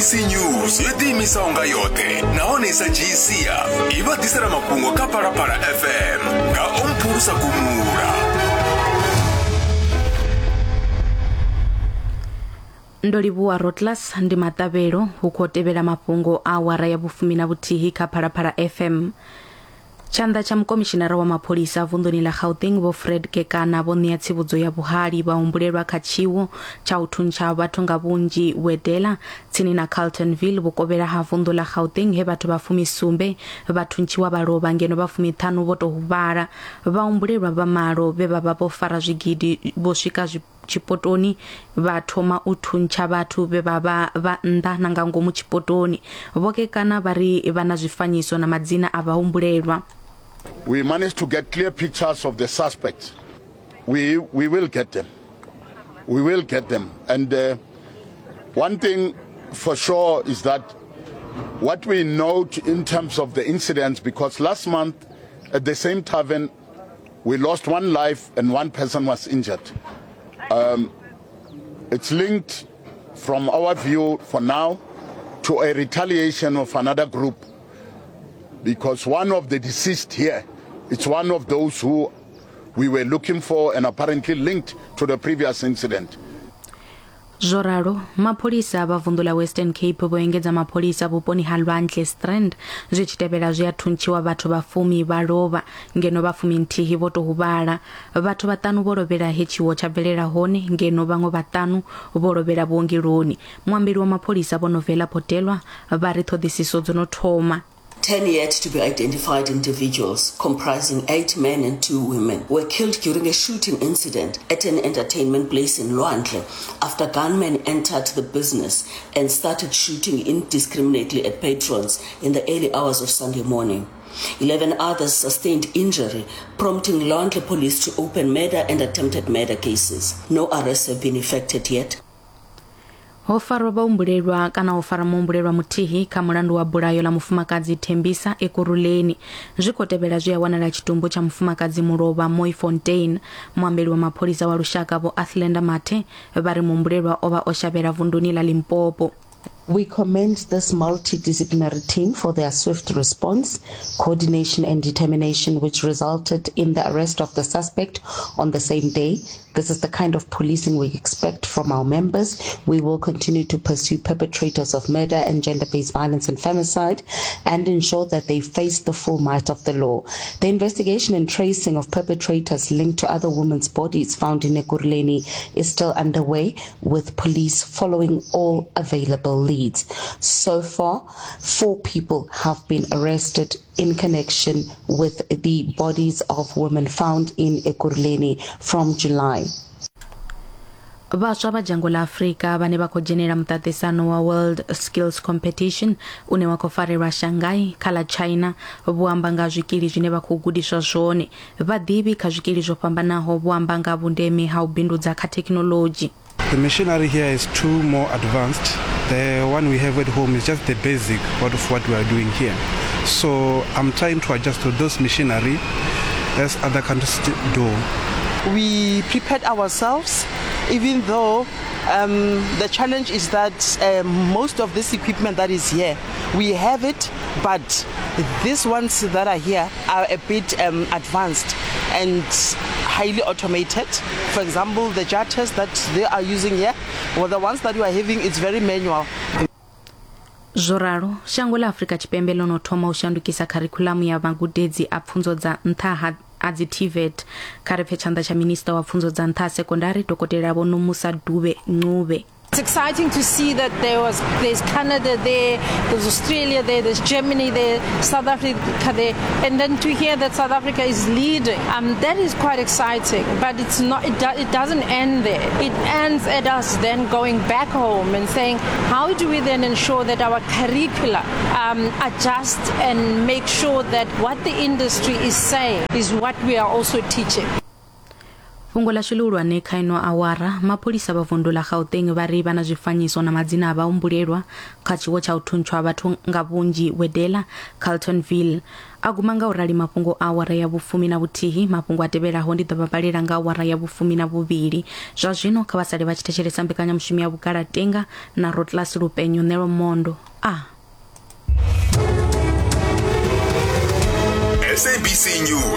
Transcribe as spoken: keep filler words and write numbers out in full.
S A B C News yo ḓiimisaho nga yoṱhe nahone i sa dzhii sia i vha ḓisela mafhungo kha Phalaphala F M nga Omphulusa Gumula. Ndo livhuwa Rotlas ndi maṱavhelo hu khou tevhela mafhungo a awara ya vhufumi na vhuthihi kha Phalaphala F M. Tshanḓa tsha mukomishinara wa mapholisa vunḓuni ḽa Gauteng Vho Fred Kekana vho ṋea tsivhudzo ya vhuhali vha humbulelwa kha tshiwo tsha u thuntsha vhathu nga vhunzhi Wedela tsini na Carltonville vhukovhela ha vunḓu ḽa Gauteng he vhathu vha fumisumbe vha thuntshiwa vha lovha ngeno vha fumiṱhanu vho tou huvhala. Vha humbulelwa vha malo vhe vha vha vho fara zwigidi vho swika zwi tshipotoni vha thoma u thuntsha vhathu vhe vha vha vha nnḓa na nga ngomu tshipotoni. Vho Kekana vha ri vha na zwifanyiso na madzina a vhahumbulelwa. We managed to get clear pictures of the suspects. We, we will get them. We will get them. And uh, one thing for sure is that what we note in terms of the incidents, because last month at the same tavern, we lost one life and one person was injured. Um, it's linked, from our view for now, to a retaliation of another group, because one of the deceased here, it's one of those who we were looking for and apparently linked to the previous incident. Zwo ralo, mapholisa vha vunḓu ḽa Western Cape vho engedza mapholisa vhuponi ha Lwandle Strand zwi tshi tevhela zwi a thuntshiwa vhathu vha fumi vha lovha ngeno vha fumi nthihi vho tou huvhala. Vhathu vhaṱanu vho lovhela he tshiwo tsha bvelela hone ngeno vhaṅwe vhaṱanu vho lovhela vhuongeloni. Muambeli wa mapholisa Vho Novela Potelwa vha ri ṱhoḓisiso dzo no thoma. Ten yet to be identified individuals, comprising eight men and two women, were killed during a shooting incident at an entertainment place in Lwandle after gunmen entered the business and started shooting indiscriminately at patrons in the early hours of Sunday morning. Eleven others sustained injury, prompting Lwandle police to open murder and attempted murder cases. No arrests have been effected yet. Ho farwa vhahumbulelwa kana ho fara muhumbulelwa muthihi kha mulandu wa bulayo ḽa mufumakadzi Thembisa Ekurhuleni. Zwi khou tevhela zwi a wanala tshitumbu tsha mufumakadzi mulovha Mooifontein. Muambeli wa mapholisa wa lushaka Vho Athlenda Mathe vha ri muhumbulelwa o vha o shavhela vunduni ḽa Limpopo. We commend this multidisciplinary team for their swift response, coordination and determination, which resulted in the arrest of the suspect on the same day. This is the kind of policing we expect from our members. We will continue to pursue perpetrators of murder and gender-based violence and femicide and ensure that they face the full might of the law. The investigation and tracing of perpetrators linked to other women's bodies found in Ekurhuleni is still underway, with police following all available leads. So far, four people have been arrested in connection with the bodies of women found in Ekurhuleni from July. Vhaswa vha dzhango ḽa Afrika vhane vha khou dzhenela muṱaṱisano wa World Skills Competition une wa khou farelwa Shanghai kha ḽa China vho amba nga zwikili zwine vha khou gudiswa zwone. Vhaḓivhi kha zwikili zwo fhambanaho vho amba nga vhundeme ha u bindudza kha thekhinoḽodzhi. The machinery here is too more advanced. The one we have at home is just the basic of what we are doing here. So I'm trying to adjust to those machinery as other countries do. We prepared ourselves, even though um, the challenge is that uh, most of this equipment that is here, we have it, but these ones that are here are a bit um, advanced and highly automated. For example, the jar tests that they are using here, well, the ones that you are having, it's very manual. Zwo ralo, shango ḽa Afrika Tshipembe ḽo no thoma u shandukisa kharikhuḽamu ya magudedzi a pfunzo dza nṱha ha a dzi T V E T. Kha ri pfe tshanḓa tsha minista wa pfunzo dza nṱha ha sekondari Dokotela Vho Nomusa Dube Ncube. It's exciting to see that there was there's Canada there, there's Australia there, there's Germany there, South Africa there, and then to hear that South Africa is leading, um, that is quite exciting. But it's not. It, do, it doesn't end there. It ends at us then going back home and saying, how do we then ensure that our curricula um, adjust and make sure that what the industry is saying is what we are also teaching. Fhungo ḽashu ḽihulwane kha ino awara, mapholisa vha vundu ḽa Gauteng vha ri vha na zwifanyiso na madzina a vhahumbulelwa kha tshiwo tsha u thuntsha ha vhathu nga vhunzhi Wedela, Carltonville. A guma nga u rali mafhungo a awara ya vhufumi na vhuthihi. Mafhungo a tevhelaho ndi ḓo vha vhalela nga awara ya vhufumi na vhuvhili. Zwa zwino kha vha sale vha tshi thetshelesa mbekanyamushumo ya Vhugalatenga na Rotlas Lupenyo Nelo Mondo. A S A B C News.